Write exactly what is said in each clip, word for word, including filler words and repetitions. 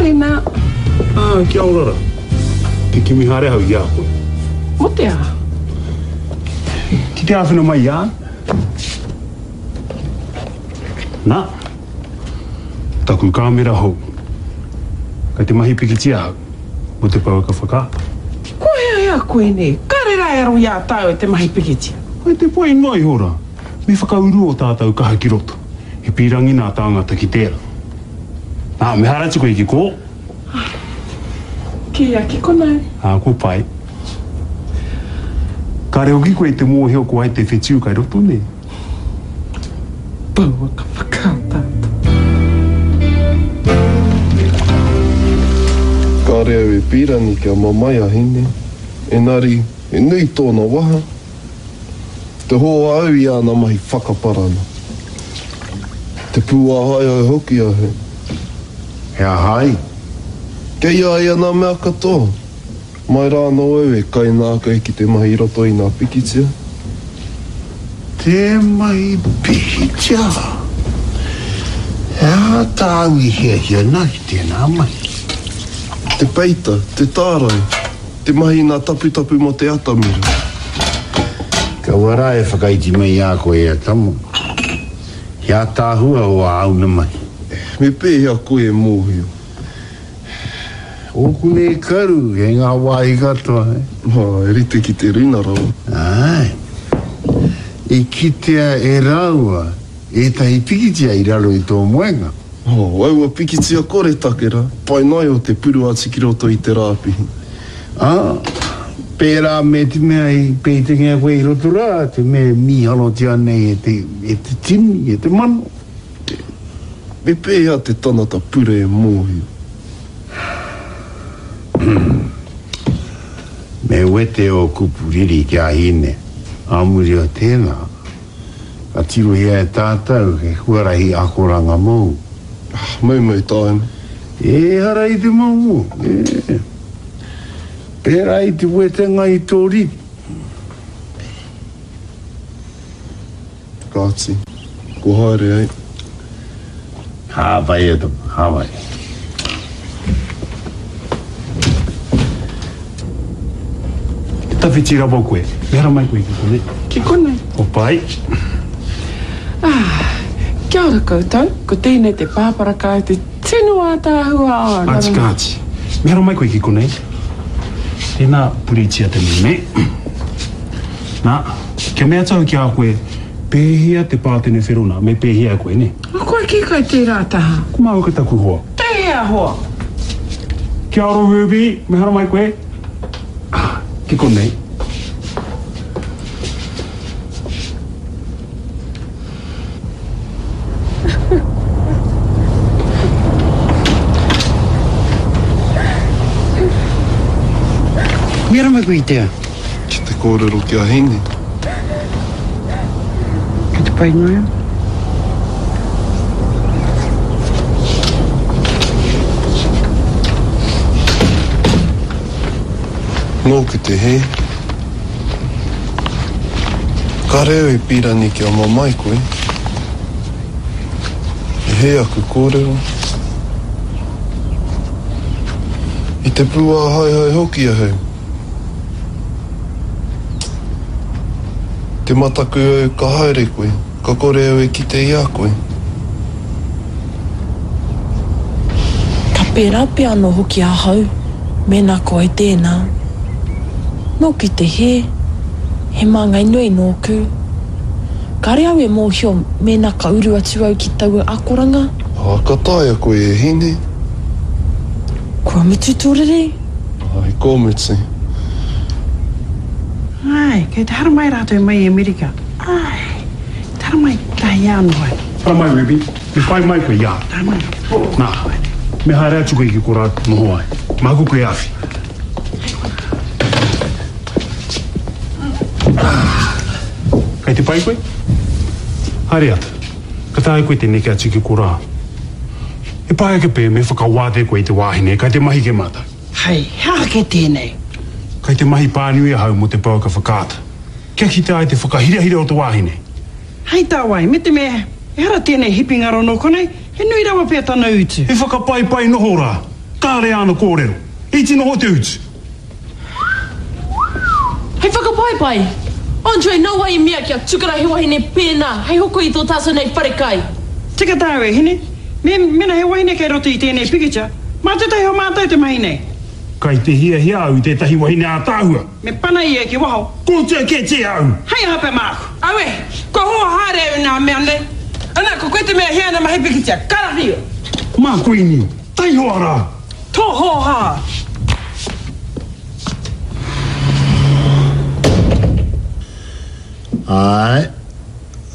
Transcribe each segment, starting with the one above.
Tēnā. Ah, kia ora rā. Te kimi haere ahau i a koe. Mō te aha? Ki te āwhina mai i a au. Nā, taku kāmera hou. Kei te mahi pikitia ahau mō te pouaka whakaata. Kua hea hea koe nei? Kāre rā e aro i a tāua te mahi pikitia. Kei te pai noa iho rā. Me whakauru ō tātou kaha ki roto. He pīrangi nā tāngata ki tērā. Nā, me haere atu koe ki kō. Kīia ki konei. Ā, kua pai. Kāre hoki koe i te mōhio ko wai te whetū kai roto nei. Pouaka whakaataata. Kāre au e pīrangi kia mamae a Hine, engari he nui tōna waha. Te hoa au i āna mahi whakaparana. Te pūāhaehae hoki ahau. He aha ai? Kei a ia nā mea katoa. Mai rā anō au e kainākau ki te mahi i roto i nā pikitia. Te mahi pikitia? He aha tāu i hiahia nā ki tēnā mahi? Te peita, te tārai, te mahi i nā taputapu mō te atamira. Kaua rā e whakaiti mai i a koe e tama. He ātaahua o āu na mahi. Me pēhea koe e mōhio? Ōku nei karu kei ngā wāhi katoa. Ā, e rite ki te rina rawa. Āe. I kitea e rāua ētahi pikitia i raro i tō moenga. Oh, aua pikitia koretake rā, pai noa iho te puru atu ki roto i te rāpihi. Ā, pērā me te mea i pētengia koe i roto rā, te mea e mīhalotia nei e te, e te tini, e te mano. Me pēhea te tangata pure e mōhio? Me wete ō kupu riri ki a Hine, ā muri o tēnā, ka tirohia e tātou he huarahi akoranga mōu. Moumou tāna. Ehara i te moumou, e. Pērā i te wetenga i tō riri. Kāti, kua haere ai. Hāpai e tama, hāpai. Te tawhiti rawa koe. Me haramai koe ki konei. Ki konei. Kua pai. Ah, kia ora koutou. Ko tēnei te pāpara kai te tino ātaahua au. Kāti, kāti. Me haramai koe ki konei. Tēnā, puritia te meme. Nā, kia mea atu au ki a koe, pēhea te pātene whero nā, me pēhea koe, nē? O koe ki koe tērā taha? Ko māua ko taku hoa. Tēhea hoa? Kia ora, Ruby. Me haramai koe. Ah, ki konei. Me haramai koe i te aha? Ki te kōrero ki a Hine. Kei te pai noa iho. Nōku te hē. Kāre au e pīrangi kia mamae koe. I hē aku kōrero. I te pūāhaehae hoki ahau. Te mataku au ka haere koe, ka kore au e kite i a koe. Ka pērā pea anō hoki ahau, mēnā ko au tēnā. Nōku te hē, he māngai nui nōku. Kāre au e mōhio mēnā ka uru atu au ki taua akoranga. Ā, ka taea koe e Hine. Kua mutu tō riri? Āe, kua mutu. Āe, kei te haramai rātou mai i Amerika. Āe, te haramai tahi anō ai. Haramai, Ruby. Me whai mai koe i a au. Nā, me haere atu koe ki korā noho ai. Māku koe e awhi. Kei te pai koe? Haere atu. Ka taea koe te neke atu ki korā. He pai ake pea me whakawātea koe i te wāhine kei te mahi kē mātou. Hei, he aha kē tēnei? Kei te mahi pānui ahau mō te pouaka whakaata. Kia kitea ai te whakahirahira o te wāhine. Hei tā wai, me te mea, ehara tēnei hipi ngaro nō konei, he nui rawa pea tana utu. He whakapaipai noho rā. Kāre āna kōrero. Iti noho te utu. Hei whakapaipai! Andre, nā wai i mea kia tukuna he wahine pēnā hei hoko i tō tātou nei wharekai? Tika tāu e hine. Me, mena he wahine kei roto i tēnei pikitia, mā tētahi o mātou te mahi nei. Kai te hiahia au i tētahi wahine ātaahua. Me pana ia ki waho. Kōtia kētia au! Hei aha pea māku? Aue, kua hoa haere au i nā mea nei. Ana, ko koe te mea hea ana mahi pikitia, karawhio! Mā Kuini, taihoa rā! Tō hōhā! Āe,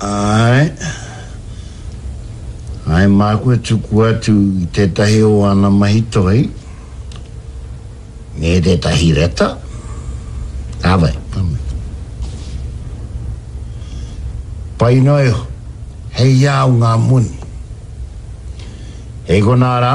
āe. Āe, māku e tuku atu i tētahi o āna mahi toi, me tētahi reta. Ka wai, ka wai. Pai noa iho, hei au ngā moni. Hei konā rā.